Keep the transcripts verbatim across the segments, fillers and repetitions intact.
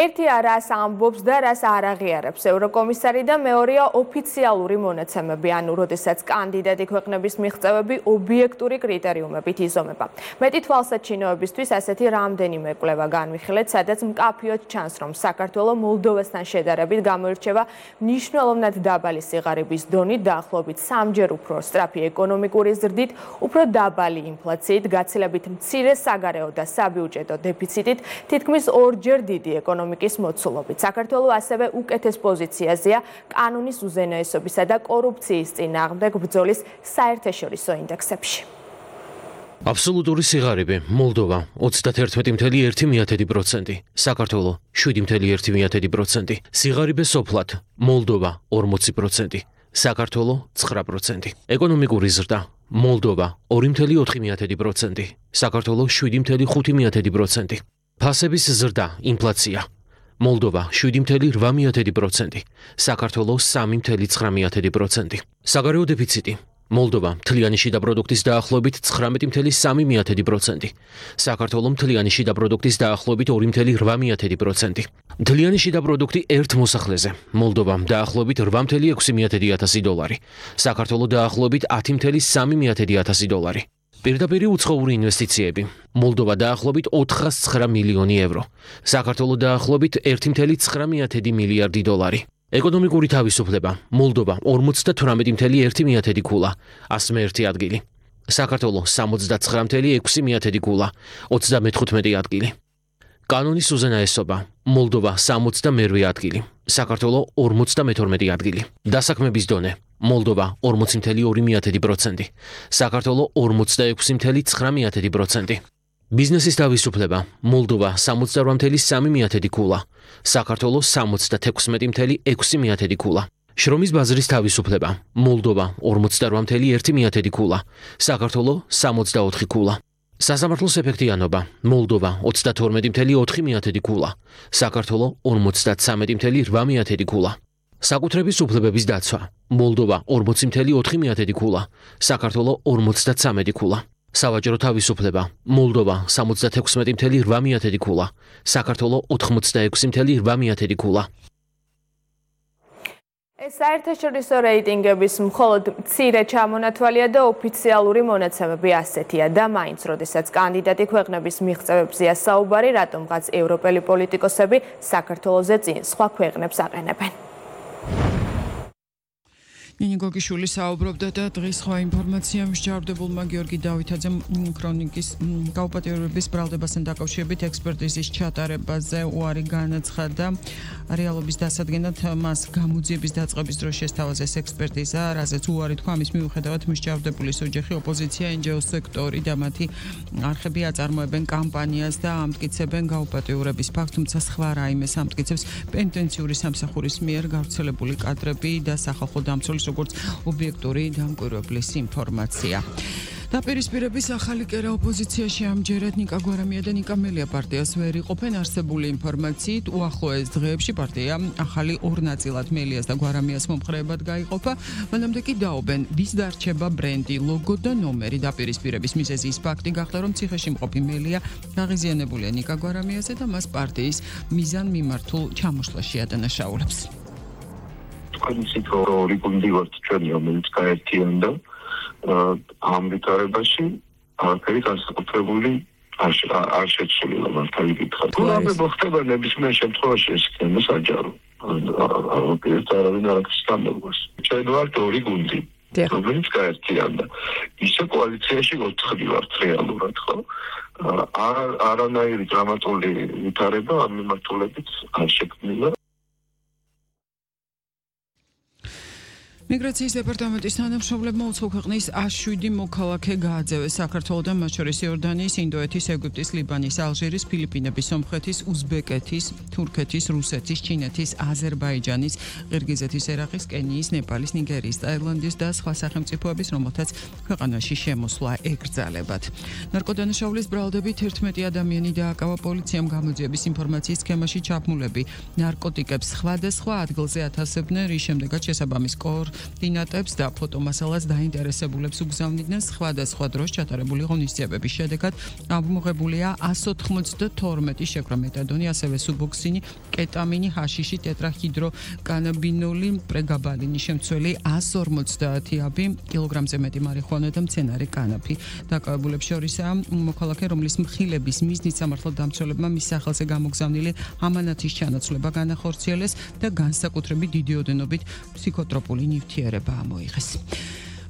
ერთი არას ამბობს და რას არ აღიარებს ევროკომისარი და მეორეა ოფიციალური მონაცემები, ანუ როდესაც კანდიდატი ქვეყნების მიღწევები ობიექტური კრიტერიუმებით იზომება. მეტი თვალსაჩინოებისთვის ასეთი რამდენიმე კვლევა განვიხილეთ, სადაც მკაფიოდ ჩანს, რომ საქართველო მოლდოვასთან შედარებით გამოირჩევა მნიშვნელოვნად დაბალი სიღარიბის დონით, დაახლოებით სამჯერ უფრო სწრაფი ეკონომიკური ზრდით, უფრო დაბალი ინფლაციით, გაცილებით მცირე საგარეო და საბიუჯეტო დეფიციტით, თითქმის ორჯერ დიდი ეკონომიკის მოცულობით. საქართველო ასევე უკეთეს პოზიციაზეა კანონის უზენაესობისა და კორუფციის წინააღმდეგ ბრძოლის საერთაშორისო ინდექსებში. აბსოლუტური სიღარიბე მოლდოვა ოცდაათი კoma ერთი პროცენტი, საქართველო შვიდი კoma ერთი პროცენტი, სიღარიბე სოფლად მოლდოვა ორმოცი პროცენტი, საქართველო ცხრა პროცენტი, ეკონომიკური ზრდა მოლდოვა ორი კoma ოთხი პროცენტი, საქართველო შვიდი კoma ხუთი პროცენტი, ფასების ზრდა ინფლაცია მოლდოვა შვიდი კoma რვა პროცენტი, საქართველო სამი კoma ცხრა პროცენტი, საგარეო დეფიციტი მოლდოვა მთლიანი შიდა პროდუქტის დაახლოებით ცხრამეტი კoma სამი პროცენტი, საქართველო მთლიანი შიდა პროდუქტის დაახლოებით ორი კoma რვა პროცენტი, მთლიანი შიდა პროდუქტი ერთ მოსახლეზე მოლდოვა დაახლოებით რვა კoma ექვსი ათასი დოლარი, საქართველო დაახლოებით ათი კoma სამი ათასი დოლარი. პირდაპირი უცხოური ინვესტიციები მოლდოვა დაახლოებით ოთხას ცხრა მილიონი ევრო, საქართველო დაახლოებით ერთი კoma ცხრა მილიარდი დოლარი. ეკონომიკური თავისუფლება მოლდოვა ორმოცდათვრამეტი კoma ერთი ქულა, ასმე ერთი ადგილი, საქართველო სამოცდაცხრა კoma ექვსი ქულა, ოცდამეთხუთმეტი ადგილი. კანონის უზენაესობა მოლდოვა სამოცდამერვე ადგილი, საქართველო ორმოცდამეთორმეტი ადგილი. დასაქმების დონე მოლდოვა ორმოცი კoma ორი პროცენტი, საქართველო ორმოცდაექვსი კoma ცხრა პროცენტი. ბიზნესის თავისუფლება მოლდოვა სამოცდარვა კoma სამი ქულა, საქართველო სამოცდათექვსმეტი კoma ექვსი ქულა. შრომის ბაზრის თავისუფლება მოლდოვა ორმოცდარვა კoma ერთი ქულა, საქართველო სამოცდაოთხი ქულა. სასამართლოს ეფექტიანობა მოლდოვა ოცდათორმეტი კoma ოთხი ქულა, საქართველო ორმოცდათსამეტი კoma რვა ქულა. საკუთრების უფლებების დაცვა მოლდოვა ორმოცი კoma ოთხი ქულა, საქართველო ორმოცდათსამეტი ქულა. სავაჭრო თავისუფლება მოლდოვა სამოცდათექვსმეტი კoma რვა ქულა, საქართველო ოთხმოცდაექვსი კoma რვა ქულა. ეს საერთაშორისო რეიტინგების მხოლოდ მცირე ჩამონათვალია და ოფიციალური მონაცემები ასეთია და მაინც როდესაც კანდიდატი ქვეყნების მიღწევებზეა საუბარი, რატომღაც ევროპელი პოლიტიკოსები საქართველოზე წინ სხვა ქვეყნებს აყენებენ. ნინი გოგიშვილი საუბრობდა და დღის სხვა ინფორმაცია მსჯავრდებულმა გიორგი დავითაძემ ქრონიკის გაუპატიურების ბრალდებასთან დაკავშირებით ექსპერტიზის ჩატარებაზე უარი განაცხადა. რეალობის დასადგენად მას გამოძიების დაწყების დროს შესთავაზა ეს ექსპერტიზა, რაზეც უარი თქვა. ამის მიუხედავად მსჯავრდებულის ოჯახი, ოპოზიცია, ენჯიო სექტორი და მათი არხები აწარმოებენ კამპანიას და ამტკიცებენ გაუპატიურების ფაქტს, თუმცა სხვა რაიმეს ამტკიცებს პენტენციური სამსახურის მიერ გავრცელებული კადრები და სახალხო დამცველის როგორც ობიექტური დამკვირვებლის ინფორმაცია. დაპირისპირების ახალი კერა ოპოზიციაში ამჯერად ნიკა გვარამია და ნიკა მელია პარტიას ვერ იყოფენ. არსებული ინფორმაციით უახლოეს დღეებში პარტია ახალი ორ ნაწილად მელიას და გვარამიას მომხრეებად გაიყოფა. მანამდე კი დაობენ ვის დარჩება ბრენდი, ლოგო და ნომერი. დაპირისპირების მიზეზი ის ფაქტი გახდა, რომ ციხეში მყოფი მელია აღიზიანებულია ნიკა გვარამიაზე და მას პარტიის მიზანმიმართულ ჩამოშლაში ადანაშაულებს. Consider ორი გუნდი ვართ ჩვენ, რომელიც გაერთიანდა ამ ვითარებაში არაფერი განსაკუთრებული არ შეცვლილა მართალი გითხრათ. გულაბე მოხდება ნებისმიერ შემთხვევაში ეს თემა საჯარო. არაფერს არავინ არ აქვს სტანდარტს. ჩვენ ვართ ორი გუნდი, რომელიც გაერთიანდა. ისე კოალიციაში ოთხი ვართ რეალურად, ხო? არანაირი დრამატული ვითარება ამ მიმართულებით არ შექმნილა. მიგრაციის დეპარტამენტის თანამშრომლებმა უცხო ქვეყნის შვიდი მოქალაქე გააძევეს საქართველოდან, მათ შორის იორდანიის, ინდოეთის, ეგვიპტის, ლიბანის, ალჟირის, ფილიპინების, სომხეთის, უზბეკეთის, თურქეთის, რუსეთის, ჩინეთის, აზერბაიჯანის, ყირგიზეთის, ერაყის, კენიის, ნეპალის, ნიგერიის, ტაილანდის და სხვა სახელმწიფოების, რომელთაც ქვეყანაში შემოსვლა ეკრძალებათ. ნარკოდანაშაულის ბრალდებით ერთმეტი ადამიანი დააკავა პოლიციამ. გამოძიების ინფორმაციის სქემაში ჩაბმულები ნარკოტიკებს სხვადასხვა ადგილზე ათასებდნენ, რის შემდეგაც შესაბამის კორ დინატებს და ფოტომასალას დაინტერესებულებს უგზავნიდნენ სხვადასხვა დროს ჩატარებული ღონისძიებების შედეგად ამოღებულია one ninety-two შეკრა მეტადონი, ასევე სუბოქსინი, კეტამინი, ჰაშიში, ტეტრაჰიდროკანაბინოლი, პრეგაბალინი, შემცველი one forty აბი, კილოგრამზე მეტი მარიხუანა და მცენარე კანაფი. დაკავებულებს შორისაა მოქალაქე, რომლის მხილების მიზნით სამართალდამცველებმა მის სახელზე გამოგზავნილი ამანათის ჩანაცვლება განახორციელეს და განსაკუთრებით დიდი ოდენობით ფსიქოტროპული ნივთიერება ამოიღეს.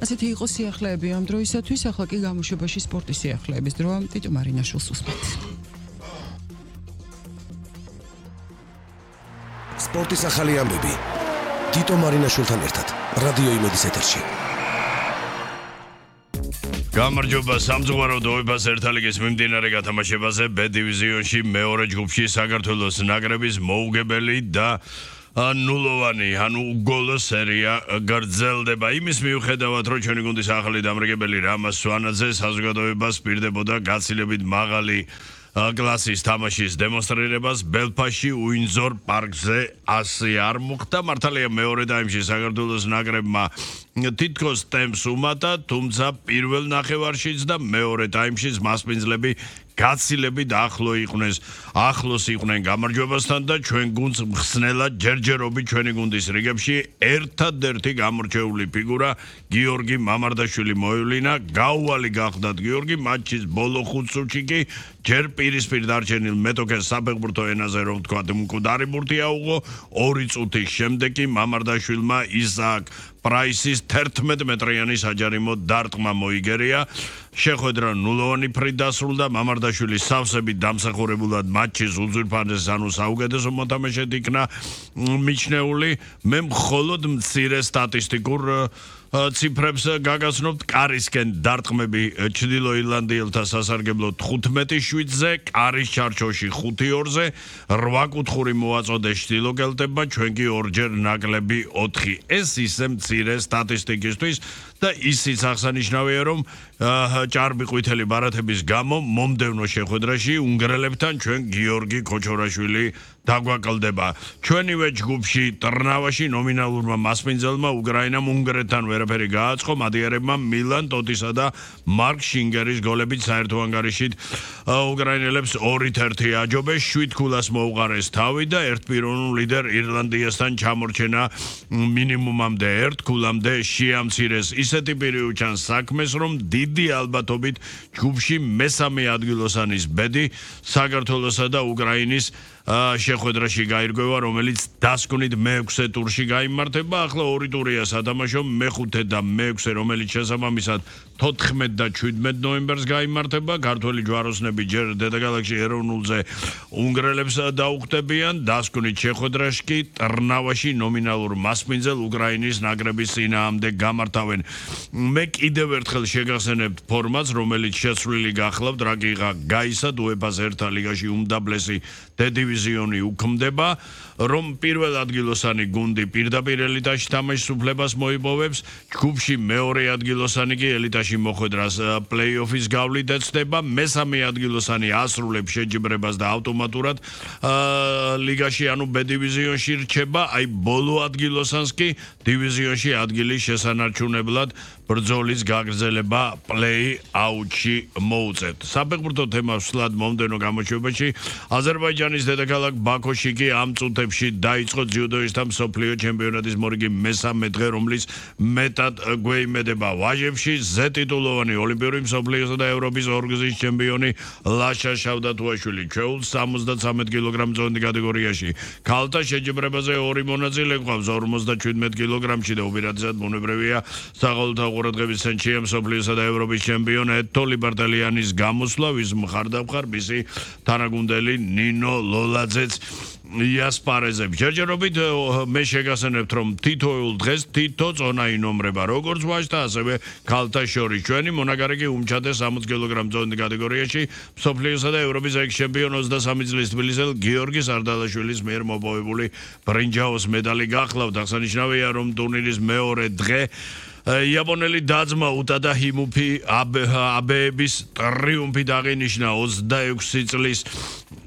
ასეთი იყო სიახლეები ამ დროისათვის, ახლა კი გამოშვებაში სპორტის სიახლეების დროა. ტიტო მარინაშვილს უსმენთ. სპორტის ახალი ამბები. ტიტო მარინაშვილთან ერთად რადიო იმედის ეთერში. გამარჯობა სამწუხარო დოებას ერთალიგის მიმდინარე გათამაშებაზე B დივიზიონში მეორე ჯგუფში საქართველოს ნაკრების მოუგებელი და ნულოვანი, ანუ გოლო სერია გრძელდება. იმის მიუხედავად, რომ ჩვენი გუნდის ახალი დამრიგებელი რამაზ სვანაძე საზოგადოებას პირდებოდა გაცილებით მაღალი კლასის თამაშის დემონსტრირებას ბელფასში უინზორ პარკზე ასე არ მოხდა. მართალია მეორე ტაიმში საქართველოს ნაკრებმა თითქოს ტემპს უმატა, თუმცა პირველ ნახევარშიც და მეორე ტაიმშიც მასპინძლები გაცილებით ახლო იყვნენ, ახლოს იყვნენ გამარჯვებასთან და ჩვენ გუნდს მხსნელად ჯერჯერობით ჩვენი გუნდის რიგებში ერთადერთი გამორჩეული ფიგურა გიორგი მამარდაშვილი მოევლინა. გაუვალი გახდათ გიორგი მატჩის ბოლო ხუთ წუთში კი ჯერ პირისპირ დარჩენილ მეტოქეს საფეხბურთო ენაზე რომ ვთქვათ მკვდარი ბურთი აუღო, ორი წუთის შემდეგ კი მამარდაშვილმა ისააკ პრაისის თერთმეტ მეტრიანი საჯარიმო დარტყმა მოიგერია. შეხვედრა ნულოვანი ფრით დასრულდა. მამარდაშვილი სავსებით დამსახურებულად მატჩის უძვირფასეს ანუ საუკეთესო მოთამაშედ იქნა მიჩნეული. მე მხოლოდ მცირე სტატისტიკურ ციფრებს გაგაცნობთ. კარისკენ დარტყმები ჩრდილო ირლანდიელთა სასარგებლო თხუთმეტი შვიდზე, კარის ჩარჩოში ხუთი ორზე, რვა კუთხური მოაწოდეს ჩრდილო კელტებმა, ჩვენ კი ორჯერ ნაკლები ოთხი. ეს ისე მცირე სტატისტიკისთვის და ისიც აღსანიშნავია, რომ ჭარბი ყვითელი ბარათების გამო მომდევნო შეხვედრაში უნგრელებთან ჩვენ გიორგი ქოჩორაშვილი დაგვაკლდება. ჩვენივე ჯგუფში ტრნავაში ნომინალურმა მასპინძელმა უკრაინამ უნგრეთთან ვერაფერი გააწყო, მადიარებმა მილან ტოტისა და მარკ შინგერის გოლებით საერთო ანგარიშით უკრაინელებს ორით ერთი აჯობეს, შვიდ ქულას მოუყარეს თავი და ერთპიროვნულ ლიდერ ირლანდიასთან ჩამორჩენა მინიმუმამდე ერთ ქულამდე შეამცირეს. ისეთი პირი უჩანს საქმეს, რომ დიდი ალბათობით ჯგუფში მესამე ადგილოსანის ბედი საქართველოსა და უკრაინის შეხვედრაში გაირკვევა, რომელიც დასკვნით მეექვსე ტურში გაიმართება. ახლა ორი ტურია სათამაშო, მეხუთე და მეექვსე, რომელიც შესაბამისად თოთხმეტ და შვიდმეტ ნოემბერს გაიმართება. ქართველი ჯვაროსნები ჯერ დედაქალაქში ეროვნულზე უნგრელებს დაუხდებიან. დასკვნით შეხვედრაში კი ტრნავაში ნომინალურ მასპინძელ უკრაინის ნაკრების წინააღმდეგ გამართავენ. მე კიდევ ერთხელ შეგახსენებთ ფორმატს, რომელიც შეცვლილი გახლავთ, რა კი გაისად უეფას ერთა ლიგაში უმდაბლესი დივიზიონი უქმდება, რომ პირველ ადგილოსანი გუნდი პირდაპირ ელიტაში თამაშის უფლებას მოიპოვებს, ჯგუფში მეორე ადგილოსანი კი ელიტაში მოხვედრას პლეი-ოფის გავლით ეცდება, მესამე ადგილოსანი ასრულებს შეჯიბრებას და ავტომატურად ლიგაში ანუ B დივიზიონში რჩება, აი ბოლო ადგილოსანს კი დივიზიონში ადგილის შესანარჩუნებლად ბრძოლის გაგრძელება პლეი-აუთში მოუწევთ. საფეხბურთო თემას ვსვლად მომდენო გამოშვებაში აზერბაიჯანის დედაქალაქ ბაქოში კი ამ წუთებში დაიწყო ძიუდოისტთა მსოფლიო ჩემპიონატის მორიგი მესამე დღე, რომლის მეტად გვეიმედება ვაჟებში ზე ტიტულოვანი ოლიმპიური მსოფლიოსა და ევროპის ორგზის ჩემპიონი ლაშა შავდათუაშვილი ჩვეულის სამოცდათვრამეტ კილოგრამ წონი კატეგორიაში. ქალთა შეჯიბრებაზე ორი მონაწილე გვყავს ორმოცდაშვიდმეტ კილოგრამში და უპირატესად ბუნებრივია საყოველთაო ყურადღების ცენტრში მსოფლიოსა და ევროპის ჩემპიონი ეთო ლიბერტალიანის გამოსვლა, ვის მხარდამხარ მისი თანაგუნდელი ნინო ლოლაძეც იასპარეზებს. ჯერჯერობით მე შეგახსენებთ, რომ თითოეულ დღეს თითო წონა ინომრება, როგორც ვაჟთა, ასევე ქალთა შორის. ჩვენი მონაგარი კი უმჩადეს სამოცდ კილოგრამ წონი კატეგორიაში მსოფლიოსა და ევროპის ექს-ჩემპიონ ოცდასამი წლის თბილისელ გიორგი სარდალაშვილის მიერ მოპოვებული ბრინჯაოს მედალი გახლავთ. აღსანიშნავია, რომ ტურნირის მეორე დღე იაპონელი დაძმა უტადა ჰიმუფი აბეების ტრიუმფი აღინიშნა ოცდაექვსი წლის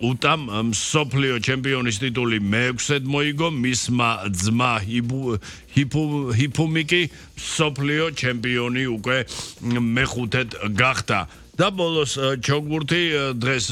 უტამ მსოფლიო ჩემპიონის ტიტული მეექვსედ მოიგო მისმა ძმა ჰიფუმიკი მსოფლიო ჩემპიონი უკვე მეხუთედ გახდა და ბოლოს ჩოგბურთი დღეს